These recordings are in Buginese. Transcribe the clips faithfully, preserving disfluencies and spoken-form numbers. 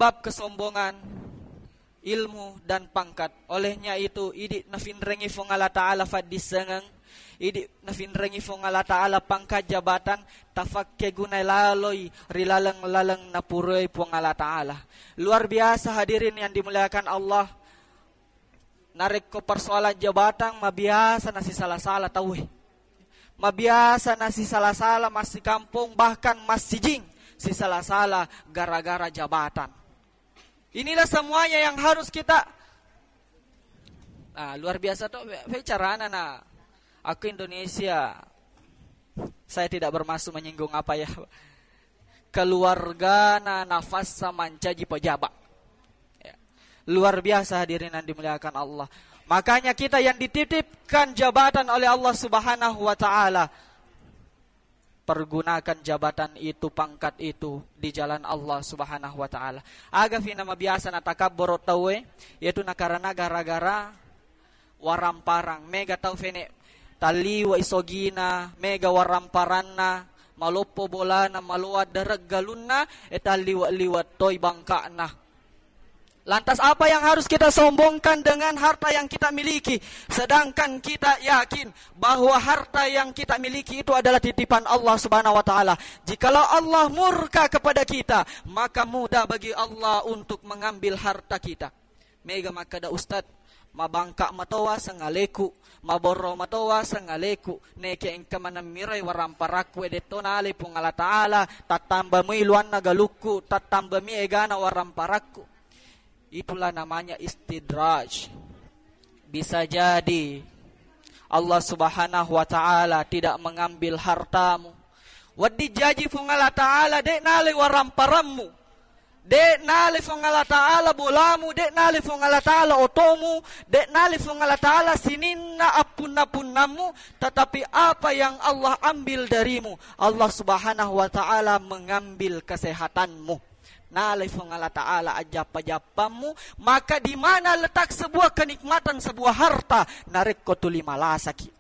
bab kesombongan, ilmu dan pangkat. Olehnya itu, idi nafinrengi Fuang Allah Ta'ala faddissengeng, idi nafinrengi Fuang Allah Ta'ala pangkat jabatan, tafakke gunai laloi ri laleng-laleng napuroi Fuang Allah Ta'ala. Luar biasa hadirin yang dimuliakan Allah, narekko persoalan jabatan, mabiasa nasisala-sala tauwe. Mabiasa nasisala-sala massikampong, bahkan massijing sisala-sala gara-gara jabatan. Inilah semuanya yang harus kita, ah, luar biasa to, be-, be carana na. Aku Indonesia, saya tidak bermaksud menyinggung apa ya. Keluargana nafassa mancaji pejabat. Ya. Luar biasa hadirin yang dimuliakan Allah. Makanya kita yang dititipkan jabatan oleh Allah Subhanahu wa Ta'ala, pergunakan jabatan itu, pangkat itu di jalan Allah Subhanahu wa Ta'ala. Aga fina mabiasa natakabboro tauwe, yaitu nakarana gara-gara waramparang. Mega tau fene talliwa isogina, mega waramparanna, maloppo bolana, maloa derek galunna, e talliwa-liwa toi bangka'na. Lantas, apa yang harus kita sombongkan dengan harta yang kita miliki? Sedangkan kita yakin bahwa harta yang kita miliki itu adalah titipan Allah Subhanahu wa Ta'ala. Jikalau Allah murka kepada kita, maka mudah bagi Allah untuk mengambil harta kita. Mega makkeda, "Ustaz, mabangka matoa sengaleku, maborro matoa sengaleku, neke engka maneng mirai waramparakku, e detto nalai Puang Allah Ta'ala, tattamba mui luanna galukku, tattamba mi egana waramparakku." Itulah namanya istidraj. Bisa jadi Allah Subhanahu wa Ta'ala tidak mengambil hartamu. Wedding jaji Puang Allah Ta'ala de' nalai waramparammu, de' nalai Puang Allah Ta'ala bolamu, de' nalai Puang Allah Ta'ala otomu, de' nalai Puang Allah Ta'ala sininna appunna-punnammu, tetapi apa yang Allah ambil darimu, Allah Subhanahu wa Ta'ala mengambil kesehatanmu. Nalai Puang Allah Ta'ala ajappa-jappammu, maka di mana letak sebuah kenikmatan, sebuah harta, narekko tuli malasaki?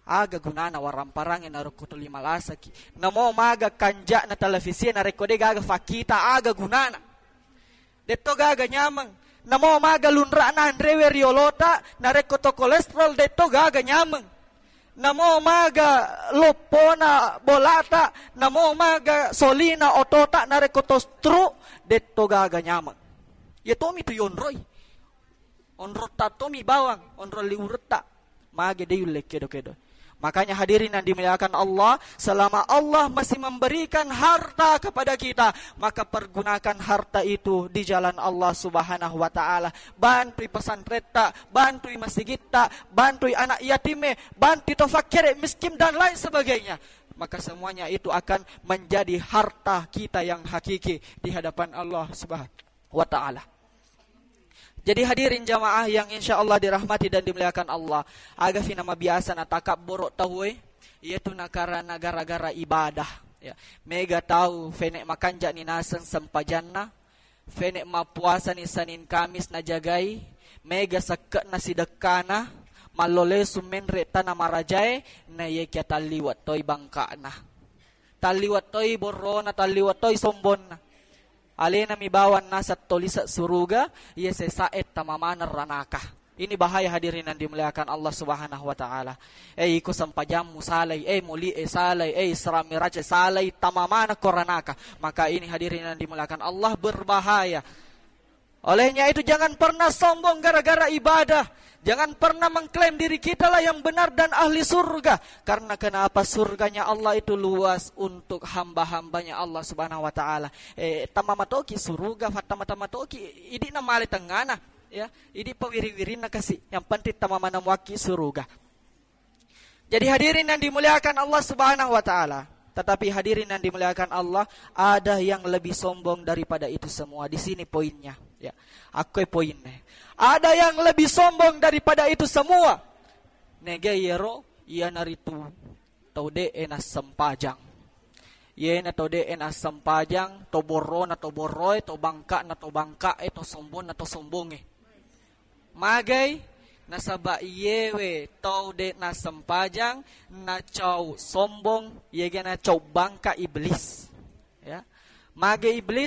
Aga gunana waramparangnge narekko tuli malasaki? Namo maga kanja'na televisi narekko de' gaga fakkita, aga gunana? Detto gaga nyameng. Namo maga lunra'na anrewe riolota narekko to kolesterol, detto gaga nyameng. Namo maga loppona bolata, namo maga solina otota narekko to stroke, detto gaga nyameng. Iya tomi tu yonroi. Onrotta tomi bawang, onrong liuretta. Mage de' yulle kedo-kedo. Makanya hadirin yang dimuliakan Allah, selama Allah masih memberikan harta kepada kita, maka pergunakan harta itu di jalan Allah Subhanahu wa Ta'ala. Bantui pesanretta, bantui masigitta, bantui anak yatime, bantui to fakkere miskin, dan lain sebagainya. Maka semuanya itu akan menjadi harta kita yang hakiki di hadapan Allah Subhanahu wa Ta'ala. Jadi hadirin jamaah yang insya Allah dirahmati dan dimuliakan Allah, aga fina mabiasa natakabboro tauwe, iyatu nakarana gara-gara ibadah. Ya. Mega tau fene makanja ni naseng sempajanna, fene mappuasa ni Senin Kamis najagai, mega sekke'na sidekkana, mallolesu menre tana marajae, na yekia talliwa toi bangka'na. Talliwa toi borrona, talliwa toi sombonna. Alena mi bawang naseng to lise' suruga, iya sesae tama maneng ranaka. Ini bahaya hadirin yang dimuliakan Allah Subhanahu wa Ta'ala. Eh, iko sempajammu salai, eh, muli e salai, eh, Isra Miraj e salai, tama maneng ko ranaka. Maka ini hadirin yang dimuliakan Allah, berbahaya. Olehnya itu, jangan pernah sombong gara-gara ibadah. Jangan pernah mengklaim diri kitalah yang benar dan ahli surga. Karena kenapa? Surganya Allah itu luas untuk hamba-hambanya Allah Subhanahu wa Ta'ala. Eh, tama matoki suruga, fattama-tama toki, idi na male tengana. Ya, idi pawiri-wirinna kasi. Yang penting tama manamuaki suruga. Jadi hadirin yang dimuliakan Allah Subhanahu wa Ta'ala. Tetapi hadirin yang dimuliakan Allah, ada yang lebih sombong daripada itu semua. Di sini poinnya. Ya. Akkoe poinnya. Ada yang lebih sombong daripada itu semua. Nege yero, iyanaritu tau de'e nassempajang. Iyena tau de'e nassempajang, to borrona to borroe, to bangka'na to bangka'e, to sombonna to sombonge. Magai? Nasaba iyewe tau de' nassempajang, nacau sombong, yega nacau bangka iblis. Ya. Mage iblis?